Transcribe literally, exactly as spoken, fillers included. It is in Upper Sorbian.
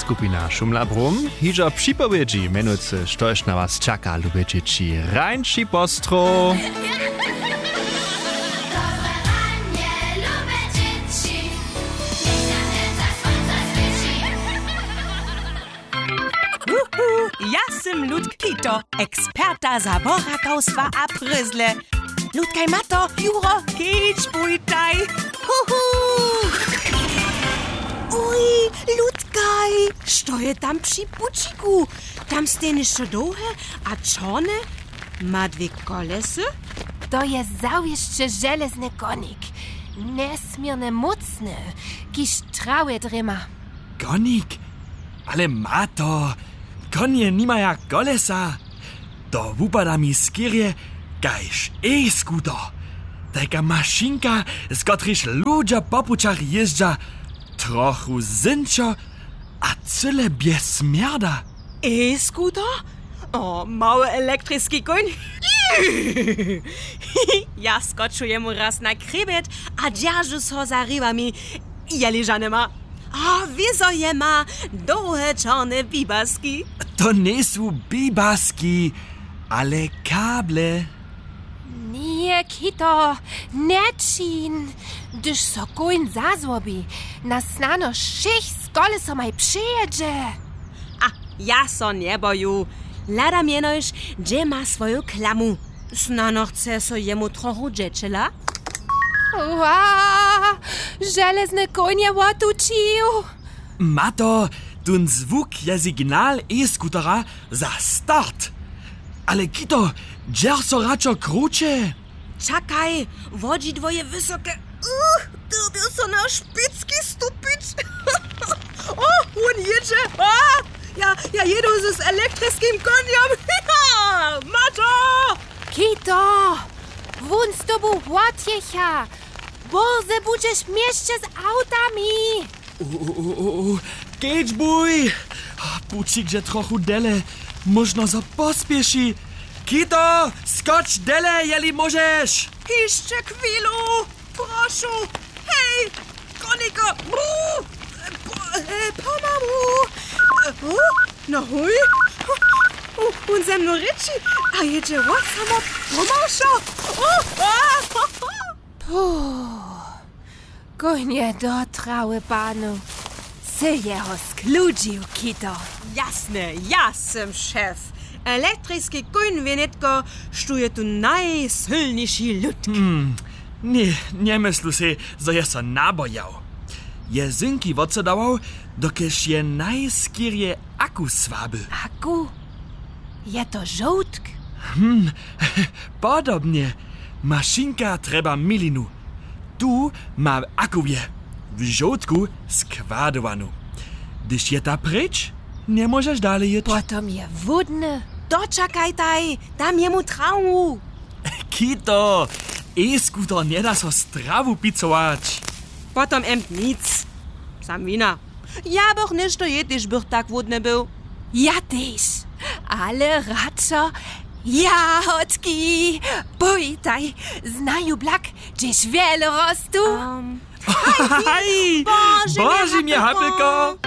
Skupina Šumla Brum hižo připowědźi mjenujcy, štož na was čaka, lube dźěći. Rańši postrow. Wuhu, ja sym Ludk Kito, eksperta za borakawstwa a prězle. Ludkaj, Mato, Juro, kedźbujtaj. Huhu. Uj, Ludkaj, što je tam při pućiku? Tam stej něšto dołhe a čorne, ma dwě kolesy. To je zawěsće železny konik, njesměrnje mócny, kiž trawje drjema. Konik? Ale Mato, konje nimaja kolesa. To wupada mi skerje kaž e-skuter. Tajka mašinka, z kotrejž ludźo po pućach jězdźa, trochu zynčo a cyle bjez smjerda. E-skuter? O, mały elektriski kóń. Ja skoču jemu raz na chrěbjet a dźeržu so za hriwami, jeli žane ma. A wězo je ma dołhe čorne bibaski. To njejsu bibaski, ale kable. Ně, Kito, nječin. Hdyž so kóń zazłobi, nas snano wšěch z kolesomaj přejědźe. A ja so njeboju. Hladam jenož, hdźe ma swoju klamu. Snano chce so jemu trochu dźećela? Wa, železny kóń je wotućił. Mato, tón zwuk je signal e-skutera za start. Ale Kito, dźerž so radšo kruće. Čakaj, wodźidło je wysoke. Uch, dyrbju so na špicki stupić. O, wón jědźe. A, ja, ja jědu z, z elektriskim konjom. Mato! Kito, wón z tobu wotjěcha. Bórze budźeš w měsće z awtami. U, u, u, u, u. Kedźbuj! Pućik dźe trochu dele. Móžno so pospěši. Kito, skoč dele, jeli móžeš! Hišće chwilu, prošu. Hej, koniko! Brr! Po-, e, pomalu! E, u, no huj! U, wón ze mnu rěči a jědźe wot samo pomałšo! U, a, ho, ho. Puh. Kóń je do trawy panu. Sy jeho skludźił, Kito. Jasne, ja sym šef. Elektriski kóń wě nětko, štó je tu najsylniši lutk. Hmm, ně, njemyslu sej, zo je so nabojał. Je zynki wotsodawał, dokelž je najskerje aku słaby. Aku? Je to žołtk? Hm, podobnje. Mašinka trjeba milinu. Tu ma akuje, w žołtku składowanu. Hdyž je ta pryč, njemóžeš dale jěć. Potom je hłódny. Dočakajtaj, dam jemu trawu. Kito, e-skuter njeda so z trawu picować. Potom emt nic. Sam wina. Ja bych něšto jědł, hdyž bych tak hłódny był. Ja tež. Ale radšo jahodki. Pójtaj, znaju blak, hdźež wjele rostu. Ehm. Haj! Bože, Bože mje, Hapelko!